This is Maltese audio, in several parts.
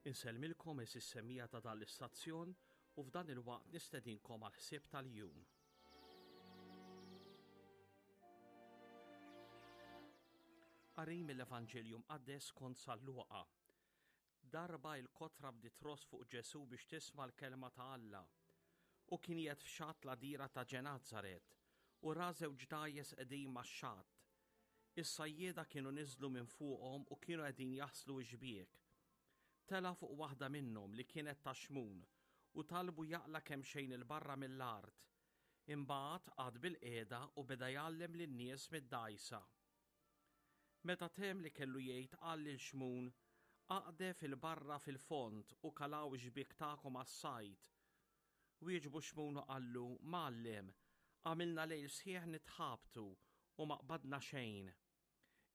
Insellmilkom għeżież semmiegħa ta' dan l-istazzjon u f'dan il-waqt nistedinkom għall-ħsieb tal-jum. Qari mill-Evanġelju Mqaddes skont San Luqa. Darba il-kotra bdiet tross fuq Ġesù biex tisma' l-kelma ta' Alla. U kien qiegħed f'xatt l-għadira ta' Ġenazaret u ra żewġ dgħajjes qegħdin max-xatt. Is-sajjieda kienu niżlu minn fuqhom u kienu qegħdin jaħslu x-xbiek. Tela' fuq waħda minnhom li kienet ta' Xmun u talbu jaqla' kemxejn 'il barra mill-art. Imbagħad qagħad bilqiegħda u beda jgħallem lin-nies mid-dgħajsa. Meta temm li kellu jgħid qal lil Xmun, Aqdef 'il barra fil-fond u kalaw ix-xbiek tagħkom għas-sajd. Wieġbu Xmun u qallu, Mgħallem, għamilna lejl sħiħ nitħabtu u ma qbadna xejn.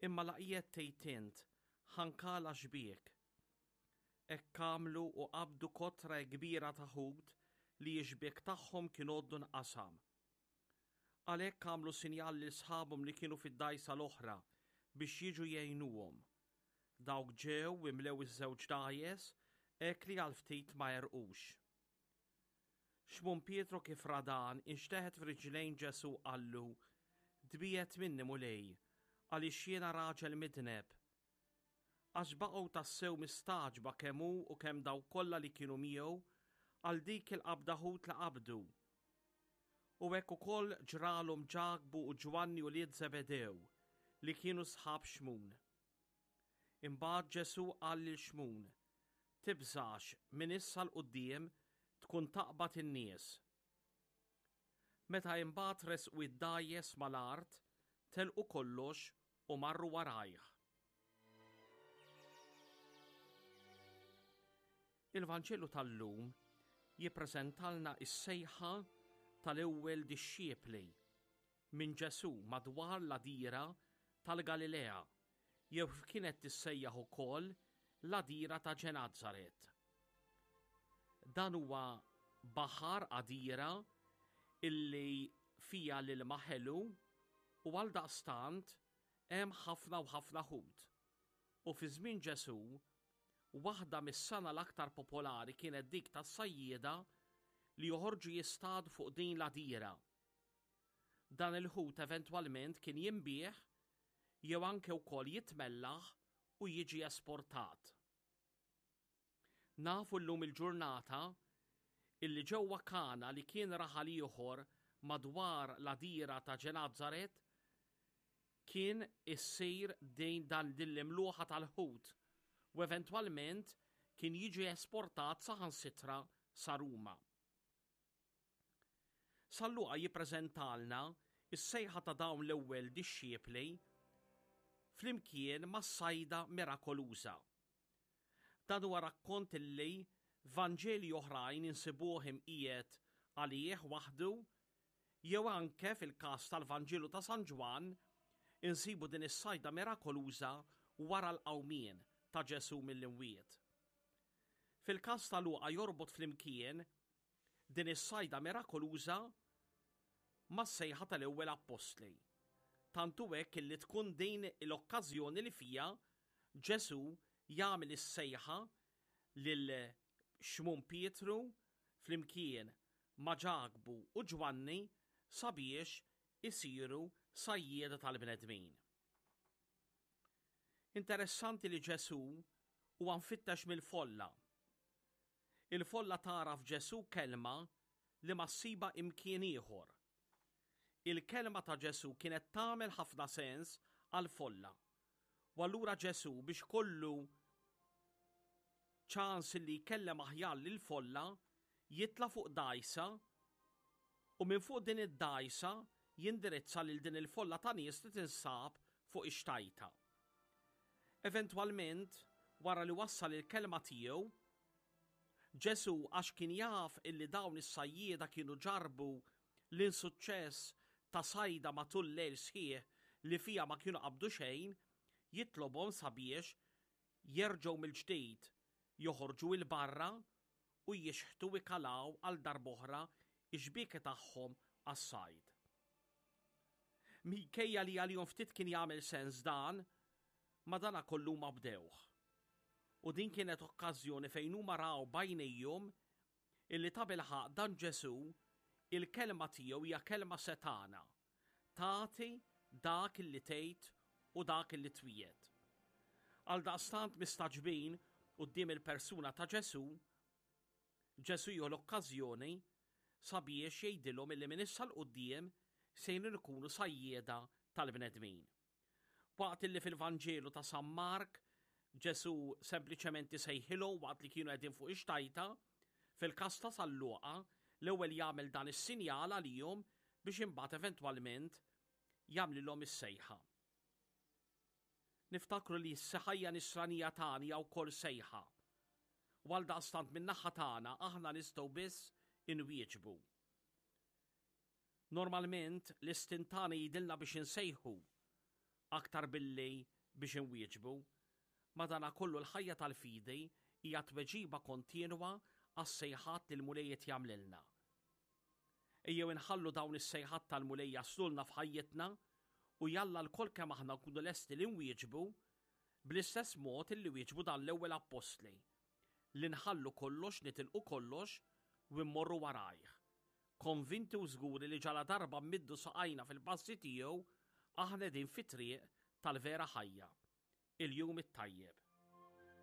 Imma la qiegħed tgħid int, ħa nkala xbiek. Hekk għamlu u qabdu kotra hekk kbira ta' ħut li x-xbiek tagħhom kien għoddu nqasam. Għalhekk għamlu sinjal lil sħabhom li kienu fid-dgħajsa l-oħra biex jiġu jgħinuhom. Dawk ġew u imlew iż-żewġ dgħajjes hekk li għal ftit ma għerqux. Xmun Pietru kif ra dan, inxteħet f'riġlejn Ġesù u qallu, Tbiegħed minni, Mulej, għaliex jiena raġel midneb. Għax baqgħu tassew mistagħġba kemm hu u kemm dawk kollha li kienu miegħu għal dik il-qabda ħut li qabdu. U hekk ukoll ġralhom Ġakbu u Ġwanni ulied Żebedew, li kienu sħab Xmun. Imbagħad Ġesù qal lil Xmun, Tibżax, minn issa 'l quddiem tkun taqbad in-nies. Meta imbagħad resqu id-dgħajjes mal-art, telqu kollox u marru warajh. Il-Vanġelu tal-lum jippreżentalna s-sejħa tal-ewwel dixxiepli minn Ġesù madwar l-għadira tal-Galilea, jew kif kienet tissejjaħ ukoll l-għadira ta' Ġenazaret. Dan huwa baħar għadira illi fiha l-ilma ħelu u għaldaqstant hemm ħafna u ħafna ħut. U fi żmien Ġesù, waħda mis-sengħa l-aktar popolari kienet dik tas-sajjieda li joħorġu jistadu fuq din l-għadira. Dan il-ħut eventwalment kien jinbiegħ jew anke wkoll jitmellaħ u jiġi esportat. Nafu llum il-ġurnata illi ġewwa Kana li kien raħal ieħor madwar l-għadira ta' Ġenazaret kien issir din dan din l-imluħa tal-ħut u eventwalment kien jiġi esportat saħansitra sa Ruma. San Luqa jippreżentalna s-sejħa ta' dawn l-ewwel dixxiepli flimkien mas-sajda mirakoluża. Dan huwa rakkont illi f'Vanġeli oħrajn insibuh imqiegħed għalih waħdu jew anke fil-każ tal-Vanġelu ta' San Ġwann insibu din is-sajda mirakoluża wara l-qawmien ta' Ġesù mill-imwiet. Fil-każ ta' Luqa jorbot flimkien din is-sajda mirakoluża mas-sejħa tal-ewwel appostli. Tant hu hekk illi tkun din l-okkażjoni li fiha Ġesù jagħmel is-sejħa lil Xmun Pietru flimkien ma' Ġakbu u Ġwanni sabiex isiru sajjieda tal-bnedmin. Interessanti li Ġesù huwa mfittex mill-folla. Il-folla tara f'Ġesù kelma li ma ssibha imkien ieħor. Il-kelma ta' Ġesù kienet tagħmel ħafna sens għall-folla. U allura Ġesù biex kollu ċans li jkellem aħjar lill-folla jitla' fuq dgħajsa u minn fuq din id-dgħajsa jindirizza lil din il-folla ta' nies li tinsab fuq ix-xtajta. Eventwalment, wara li wassal il-kelma tiegħu, Ġesù għax kien jaf illi dawn is-sajjieda kienu ġarrbu l-insuċċess ta' sajda matul lejl sħiħ li fiha ma kienu qabdu xejn, jitlobhom sabiex jerġgħu mill-ġdid joħorġu 'il barra u jixħtu ikalaw għal darb'oħra x-xbieki tagħhom għas-sajd. Minkejja li għalihom ftit kien jagħmel sens dan, madanakollu huma bdewh. U din kienet okkażjoni fejn huma raw b'għajnejhom illi tabilħaqq dan Ġesù, il-kelma tiegħu hija kelma setgħana, tagħti dak illi tgħid u dak illi twiegħed. Għaldaqstant mistagħġbin quddiem il-persuna ta' Ġesù, Ġesù jieħu l-okkażjoni sabiex jgħidilhom illi minn issa 'l quddiem sejrin ikunu sajjieda tal-bnedmin. Waqt illi fil-Vanġelu ta' San Mark Ġesù sempliċement isejħilhom waqt li kienu qegħdin fuq ix-xtajta, fil-każ ta' San Luqa l-ewwel jagħmel dan is-sinjal għalihom biex imbagħad eventwalment jagħmlilhom is-sejħa. Niftakru li s-ħajja nisranija tagħna hija wkoll sejħa. U għaldaqstant min-naħa tagħna aħna nistgħu biss inwieġbu. Normalment l-istint tagħna jgħidilna biex insejħu aktar billi biex inwieġbu. Madanakollu l-ħajja tal-fidi hija tweġiba kontinwa għas-sejħat li l-Mulej qed jagħmlilna. Ejjew inħallu dawn is-sejħat tal-Mulej jaslulna f'ħajjitna u jalla lkoll kemm aħna nkunu lesti li nwieġbu bl-istess mod illi wieġbu dan l-ewwel appostli, li nħallu kollox, nitilqu kollox u mmorru warajh, konvinti u żguri li ġaladarba mmiddu saqajna fil-passi tiegħu aħna qegħdin fit-triq tal-vera ħajja. Il-jum it-tajjeb.